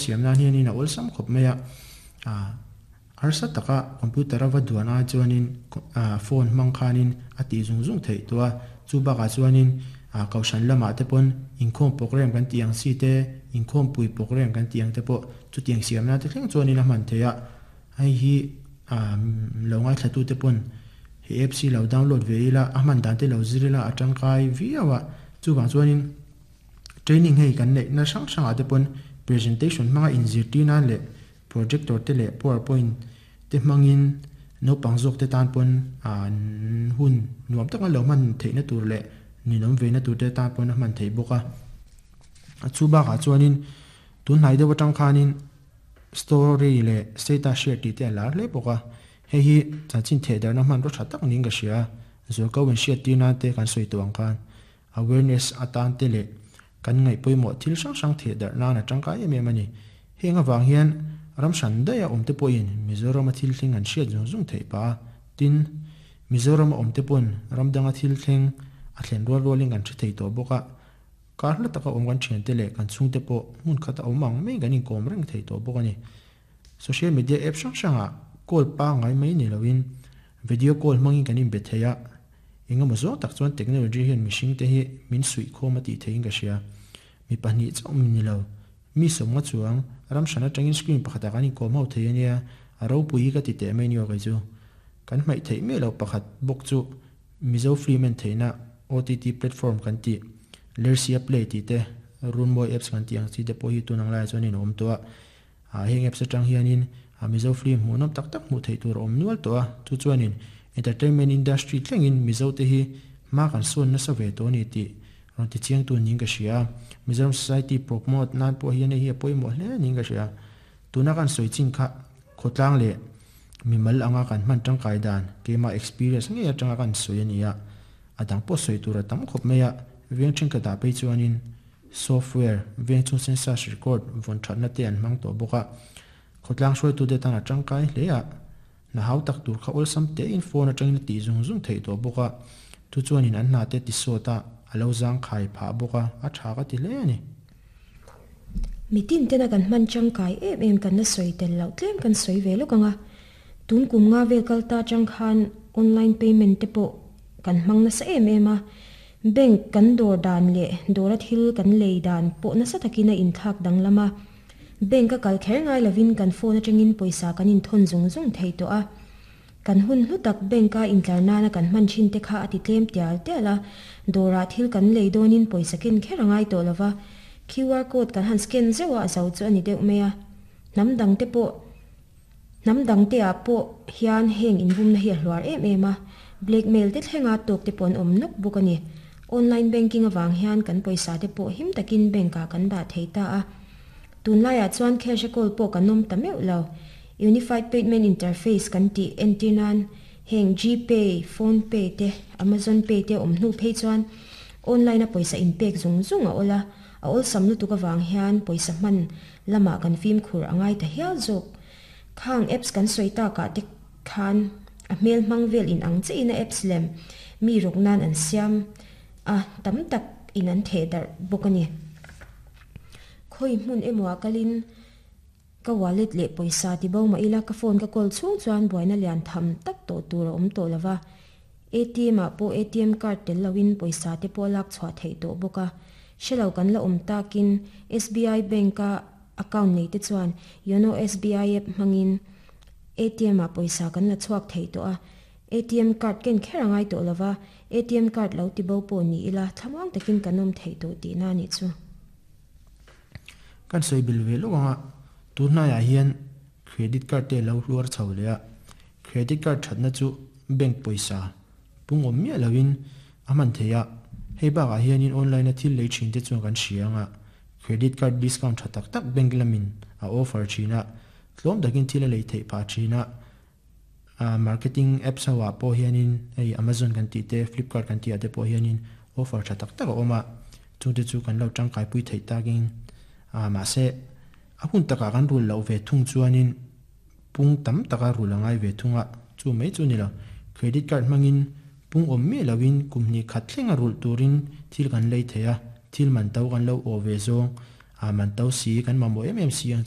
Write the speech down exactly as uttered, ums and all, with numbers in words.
siam nan hianin a awlsam khawp mai a ah harsa taka computer a va duan a chuanin ah phone hmang khanin a tih zung zung theih tawh a chu bakah chuanin ah kohhran lamah te pawn inkhawm program kan tih ang chi te inkhawm pui program kan tih ang te pawh chutiang siam nan te thleng chuanin a hman theih a hei hi ah lo ngaithla tu te pawn he apps hi lo download ve ila a hman dan te lo zir ila a tangkai viau a chuvang chuanin training hei kan neih na hrang hrangah te pawn presentation hmanga inzirtir nan leh projector te leh powerpoint te hmangin naupang zawk te tan pawn an hun nuam taka lo hman theihna tur leh ninawm ve na tur te tan pawn a hman theih bawk a a chu bakah chuanin tun hnai deuh atang khanin story leh status share tih te a lar hle bawk a hei hi chanchin theh darhna hmanraw tha tak niin ka hria zualko in hriat tir nan te kan sawi tawh ang khan awareness atan te leh kan ngaih pawimawh thil hrang hrang theh darh nan a tangkai em em a ni heng avang hian ram hran daih a awm te pawhin Mizoram a thil thleng an hriat zung zung theih pah a tin Mizoram a awm te pawn ram danga thil thleng a thlen rual rualin kan hre thei tawh bawk a kar hla taka awm kan thian te leh kan chhung te pawh hmun khat a awm ang mai kan inkawm reng thei tawh bawk a ni social media app hrang hrangah call pangai mai ni loin video call hmangin kan inbe thei a engemaw zawng tak chuan technology hian mihring te hi min suih khawm a tih theiin ka hria mi pahnih chauh ni lo mi sawmnga chuang ram hran atangin screen pakhatah kan inkawm ho thei ania a ropui hi ka ti teh mai ni aw kei chu kan hmaih theih miah lo pakhat bawk chu Mizo film en theihna O T T platform kan tih Lersia Play tih te Runmawi apps kan tih ang chi te pawh hi tun ang laiah chuan in a awm tawh a ah heng apps atang hianin a Mizo film hmuhnawm tak tak hmuh theih tur a awm nual tawh a chu chuanin entertainment industry thlengin Mizo te hi hma kan sawn nasa ve tawh a ni tih rawn ti chiang tu niin ka hria Mizoram society promote nan pawh hian hei hi a pawimawh hle niin ka hria tuna kan sawi chin kha khawtlang leh mimal anga kan hman tangkai dan keimah experience ngei atanga kan sawi a ni a a dang pawh sawi tur a tam khawp mai a veng thenkhatah phei chuanin software veng chung census record vawn thatna te an hmang tawh bawk a khawtlang hruaitu te tan a tangkai hle a na hau tak tur kha awlsam te in phone atangin a tih zung zung theih tawh bawk a chu chuanin an hna te ti sawt a a lo zang khai phah bawk a a tha ka ti hle a ni. Mitin tena kan hman tangkai em em kan la sawi tel loh tlem kan sawi ve lawk anga tun kum nga vel kal ta tang khan online payment te pawh kan hmang nasa em em a bank kan dawr dan leh dawra thil kan lei dan pawh nasa takin a inthlak danglam a bank a kal kher ngai lovin kan phone atangin pawisa kan inthawn zung zung thei tawh a kan hun hlu tak bank a intlar nana kan hman thin te kha a ti tlem tial tial a dawrah thil kan lei dawnin pawisa ken kher a ngai tawh lova Q R code kan han scan zeuh a zo chu a ni deuh mai a hnam dang te pawh hnam dang te ah pawh hian heng inbumna hi a hluar em em a blackmail te thlenga tawk te pawh an awm nawk bawk a ni online banking awang hian kan pawisa te pawh him takin bank ah kan dah thei ta a tunlaiah chuan cash a kawl pawh kan awm ta meuh lo unified payment interface kan tih entir nan heng GPay PhonePe te Amazon Pay te awm hnu phei chuan online a pawisa inpek zung zung a awla a awlsam lutuk awang hian pawisa hman lamah kan fimkhur a ngai ta hial zawk khang apps kan sawi takah te khan a hmel hmang vel in ang che in a apps lem mi rawk nan an siam a tam tak in an theh darh bawk a ni khawi hmun emaw ah kalin ka wallet leh pawisa ti bo mah ila ka phone ka kawl chhung chuan buaina lian tham tak tawh tur a awm tawh lova A T M ah pawh A T M card tel loin pawisa te pawh lak chhuah theih tawh bawk a hrelo kan la awm takin S B I bank a account nei te chuan YONO S B I app hmangin A T M ah pawisa kan la chhuak thei tawh a A T M card ken kher a ngai tawh lova A T M card lo ti bo pawh ni ila thlamuang takin kan awm theih tawh tih na ni chu. Kan sawi bil ve lawk anga tunhnaiah hian credit card te lo hluar chho leh a credit card thatna chu bank pawisa pung awm miah loin a hman thei a hei bakah hianin online a thil lei thin te chuan kan hria anga credit card discount tha tak tak bank lamin a offer thin a tlawm takin thil a lei theih phah thin a marketing apps ho ah pawh hianin hei Amazon kan tih te Flipkart kan tih ah te pawh hianin offer tha tak tak a awm a chungte chu kan lo tangkai pui theih takin a mahse a hun takah kan rul loh ve thung chuanin pung tam taka rul a ngai ve thung a chu mai chu ni lo credit card hmangin pung awm miah loin kum hnih khat thleng a rulh turin thil kan lei thei a thil man to kan lo aw ve zawng a man to si kan mamawh em em si ang chi.